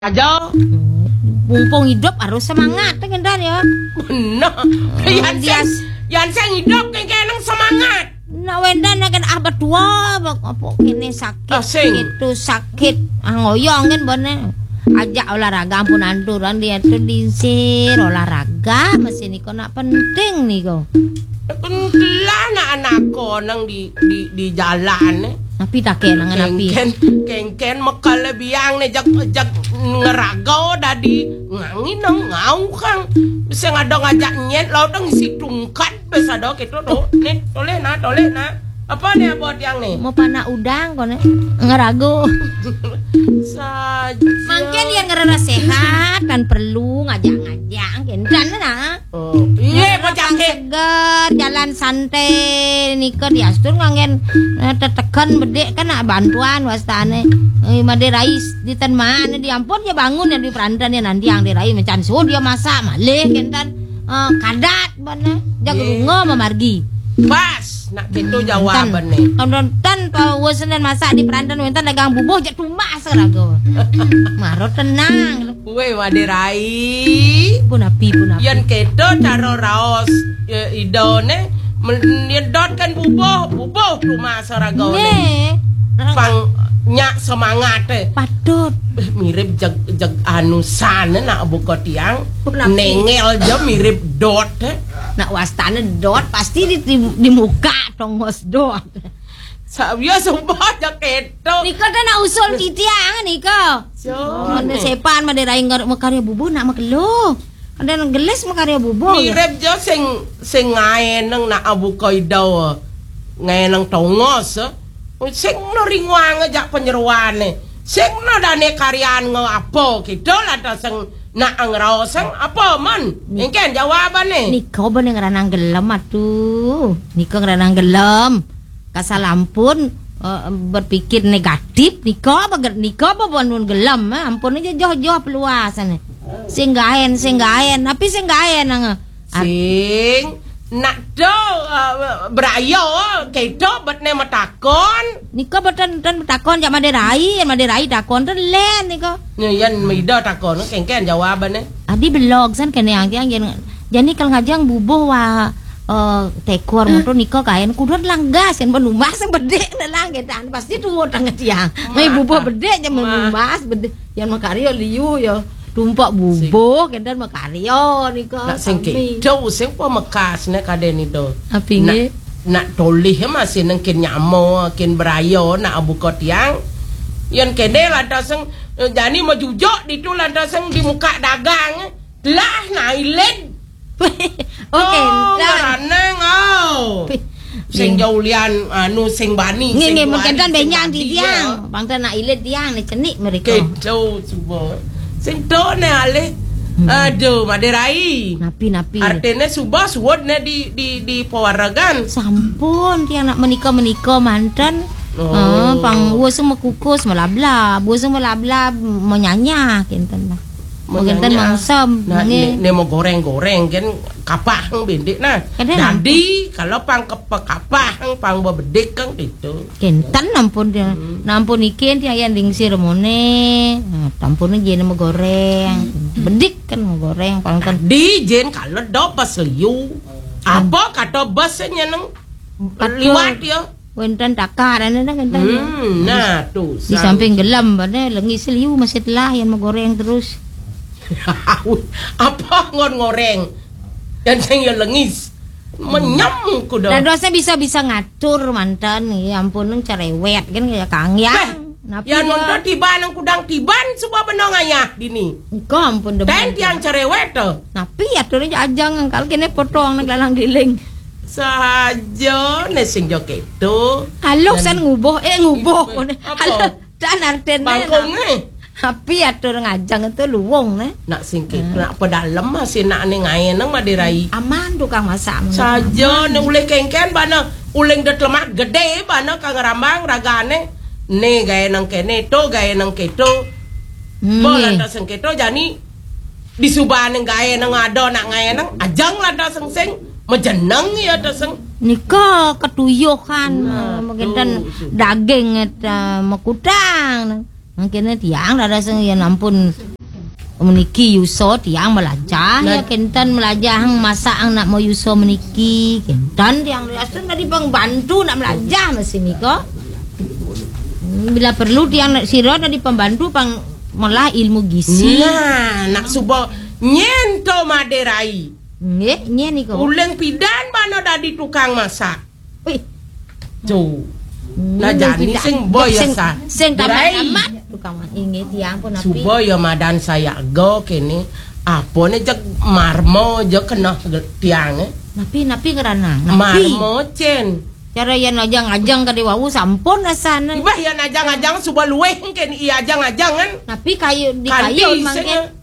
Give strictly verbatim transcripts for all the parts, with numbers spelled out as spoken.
Aja. Mumpung hidup harus semangat, kan, Dan, ya. Bener. Yan sing, yan sing hidup, kan, kan semangat. Nak wendan, kan, ah, betua, apa kene sakit, itu sakit, ah, ngoyong, kan, bone. Ajak olahraga, ampun, anturan dia tuh diinsir olahraga, masih niko nak penting niko. Kan lah anak-anak konang di, di, di jalan, eh. Napi take nang napi? Kengken, kengken mekal biang ne, jak, jak ngerago dadi ngangi nang ngau kang. Bisa ngado ngajak nyet, lo dong isi tungkat, bisa do gitu do. Nih, toleh na, toleh na. Apa nih, apa tiang nih? Mau panak udang kone. Ngerago. Saja. Mangke dia ngerasa sehat, kan perlu ngajak-ngajak, kendan na. Oh, iya, bocah seger, jalan santai, nika diastur nganggen, eh, teteken bedik kan nak bantuan wastane. Eh, Made Rais di ten mana diampun ya bangun ya di perantan ya nanti yang di Rai mencan suh dia masak malih kentan. Eh, kadat bana, jag rungo mamargi. Pas, nak gitu jawabane. Kan, kan, pa wes nen masak di perantan wentan dagang bubuh jak tumbas raga. Maro tenang. Weh, Made Rai. Pun api, pun api. Yan keto caro raos, eh, idone, men-, nyedot kan bubuh, bubuh tumbas ragone. Nggih. Pang nyak semangat, eh. Patut. Eh, mirip jeg, jeg anu sane nak buka tiang. Pun api. Nengel aja mirip dot, eh. Nak wastane dot, pasti di, di, di muka tongos dot. Sa-, ya sumpah aja keto. Nika teh nak usul titiang nika. Mana sepan Made Rai ngarep makarya bubuh nak makelo. Ada nang gelis makarya bubuh. Mirip jo sing, sing ngaeneng nak abuka ida. Ngaeneng tongos, eh. Sing no ringuang jak penyeruane. Sing no dane karyan ngo apa gitu lah ta sing nak ngraosang apa, man? Engken jawabane. Nika bene ngranang gelem atuh. Nika ngranang gelem. Kasalampun, eh, berpikir negatif, nika apa ge-, nika apa pun gelem, eh, ampun aja joh-joh peluasan. Sing gaen, sing gaen, tapi sing gaen, eh. Ar- Sing nak do, eh, berayo, kedo bet ne matakon. Nika boten, ten matakon jak Made Rai, Made Rai takon ten len nika. Nya yan mida takon, kengken jawabane. Adi belog san kene ang tiang yen. Jani kal ngajang bubuh wa, eh, tekor motor nika kaen kudu langgas kan benumbas bedik ne lang kedan pasti tuwo tang tiang. Mai bubuh bedik je benumbas bedik. Yan makarya liu ya tumpak bubuh kedan makarya nika. Nak sing kedo sing pemekas ne kaden itu. Api nggih? Nak tolih masih nengkin nyamo kin berayo nak abuka tiang. Yan kene lah ta sing, eh, jani majujuk ditu lah ta sing di muka dagang. Lah, nailen. Oke, oh, ntar. Ngaraneng, oh. Sing jaulian, anu, sing bani, nggih, sing nggih, duari, mengkentan sing benjang bani, di tiang. Ya. Bangta nak ilit tiang, ni cenik mereka. Kedo, suba. Sing to ne alih. Hmm. Aduh, Made Rai. Napi, napi. Artine suba suwud ne di, di, di pewaregan. Sampun, tiang nak menika-menika manten. Oh. Ah, pang, wes mekukus melablab, wes melablab menyanyah, kenten lah. Mengenten mangsem, nah, nggih. Ne, ne mau goreng-goreng kan kapah bendik nah. Kadang jadi kalau pang kepe-, kapah pang bebedik kan gitu. Kenten ampun dia. Hmm. Nah, ampun ikin dia yang dingsir mone. Nah, ampun aja ne mau goreng. Hmm. Bedik kan mau goreng pang kan. Di jen kalau do pas liu. Apa kata bosnya nang liwat ya? Wenten takar, ane dah wenten. Hmm, nah, tuh, di samping gelem, pada lengi seliu masih telah yang mau goreng terus. Apa ngon ngoreng? Yang sing ya lengis. Menyem kuda. Dan dosa bisa-bisa ngatur mantan, ya ampun, nang cerewet kan ya kang ya. Beh, napi ya ya? Nonton tiba nang kudang tiban semua benong ayah dini. Engkau ampun demen. Dan tiang cerewet tuh. Napi ya tuh aja ajang kalau kene potong nang lalang giling. Saja ne sing jo keto. Alok san ngubuh, eh, ngubuh. Apa? Alok dan artene. Bangkong ne. Tapi atur ngajang itu luwung ne. Nak sing keto, nak pedalem masih nak ne ngae nang Made Rai. Aman tukang masak. Saja ne ulih kengken bana uling det lemak gede bana kang rambang ragane. Ne gae nang kene to gae nang keto. Hmm. Bo lantas sing keto jani Di subaning gaé nang ada nak ngaé nang ajang lada sengsing, majeneng ya ta seng. Nika ketuyuhan, nah, eh, mengkenten tuh, sudah. Daging, eh, mekutang. Mangkene tiang dados sing yen ampun meniki yusa tiang melajah, ya kenten melajah masak nak mau yusa meniki. Kenten tiang dados dadi pembantu nak melajah mesin nika. Hmm, bila perlu tiang nak sira dadi pembantu pang melah ilmu gizi. Nah, nak suba nyen to maderai. Nggih, nyen nika. Uleng pidan bana dadi tukang masak. Wih. Tu. Hmm, nah, jani sing boy sing, sah. Sing tamat-tamat tukang masak. Inggih tiang pun napi. Suba ya madan sayaga kene. Apa ne jeg marmo je kena tiang eh. Napi, napi ngerana. Napi. Marmo cen. Cara yan ajang-ajang kade wau sampun asane. Ibah yan ajang-ajang suba luweh kene i ajang-ajang kan. Napi kayu di kayu mangke.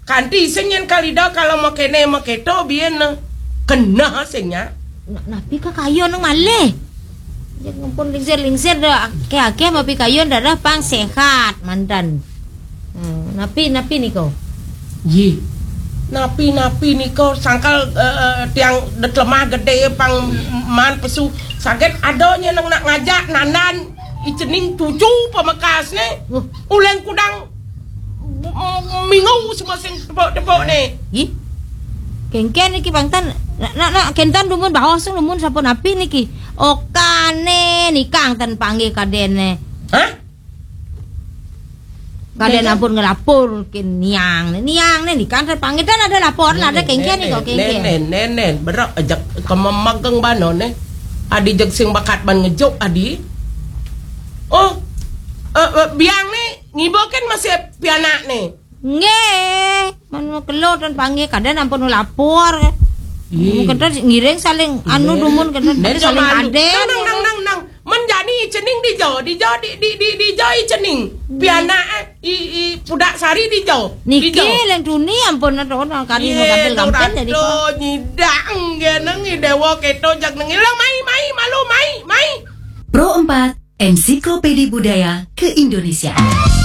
Kanti sing yen kalida kalau makene maketo biyen kena sing nya. Napi ka kayu nang malih. Yen ampun lingsir-lingsir dah akeh-akeh mapi kayu dadah pang sehat mandan. Hmm, napi napi nika. Yi. Napi napi nika sangkal eh, eh, tiang det lemah gede pang man pesu saget ada nya nang nak ngajak nandan icening tuju pamekasne. Uleng kudang minggu semua sing tepuk-tepuk ni. Ih. Kengken niki pangtan. Nak nak nak kentan dumun baos dumun sampun api niki. Okane nikang tan panggih kadene. Hah? Kaden ampun ngelapor ke niang ni. Niang ni nikang tan panggih tan ada lapor lah ada kengken ni kok kengken. Nenen nenen berak ajak kememageng bano ni. Adi jeg sing bakat ban ngejuk adi. Oh, eh, eh, biang ni ngibaken masih pianak ni. Nggih, manu kelo tan panggih kaden ampun lapor. Ih. Kenten ngiring saling anu dumun kenten saling aden. Nang nang nang nang. Men jani cening dijo, dijo di di di dijo i cening. Pianak eh, i i pudak sari dijo. Niki leng tuni ampun ado kali mau gampil-gampil jadi. Nyidak nggih nang i dewa keto jak nang ilang mai mai malu mai mai. Pro empat, Ensiklopedi Budaya Keindonesiaan.